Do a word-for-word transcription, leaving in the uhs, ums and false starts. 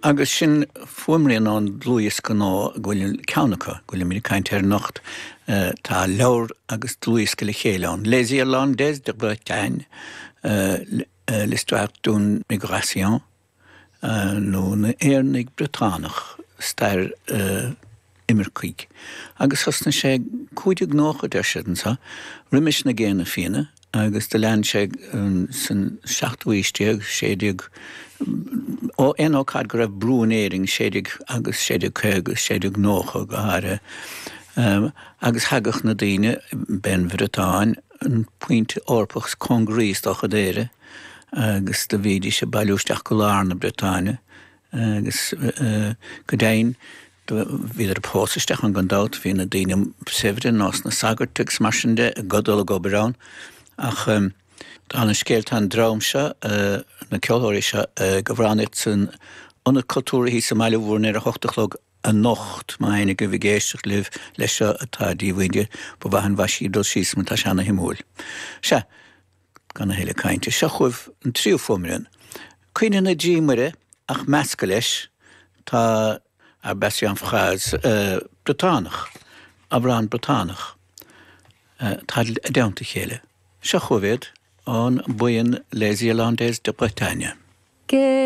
Agus sin fuaimrian ón dlúthdhiosca nua go bhfuil ceann acu, go bhfuilimid ag caint air anocht. Tá leabhar agus dlúthdhiosca le chéile ann. Les Irlandais de Bretagne, l'histoire d'une migration, nó na hÉireannaigh Briotánach, stair imircigh. Agus thosnaigh sé cúig déag nócha deir siad anseo, roimis na Géanna Fianna, agus do lean sé san seachtú haois déag, sé déag, ó aon ócáid go raibh brú in Éirinn, sé déag agus sé déag caoga, sé déag nócha go háirithe. Agus thagadh na daoine, b'é an Bhriotáin an pointe Eorpach is cóngaraí is dócha d'Éire, agus do bhídís ag bailiú isteach go lár na Briotáine, agus go deimhin bhíodar ag pósadh isteach ann gan dabht, bhí na daoine saibhre nós na sagairt agus mar sin de ag dul ag obair ann. Ach dála an scéil tá an dream seo, na ceoltóirí seo, ag amhránaíocht san Ionad Cultúrtha thíos i mBaile Mhúirne ar a hocht a chlog anocht, má éinne agaibh ag éisteacht libh leis seo atá díomhaoin de, ba mhaith an mhaise dul síos mar tá sé ana-shuimiúil. Sea, gan a thuilleadh cainte, seo chugaibh an tríú fuaimrian. Caoineadh na dTrí Muire ach measctha leis tá Ar base en phrase Briotánach, amhrán Briotánach. Tá i dteannta a chéile. Seo chugaibh iad ón mbuíon Les Irlandais de Bretagne.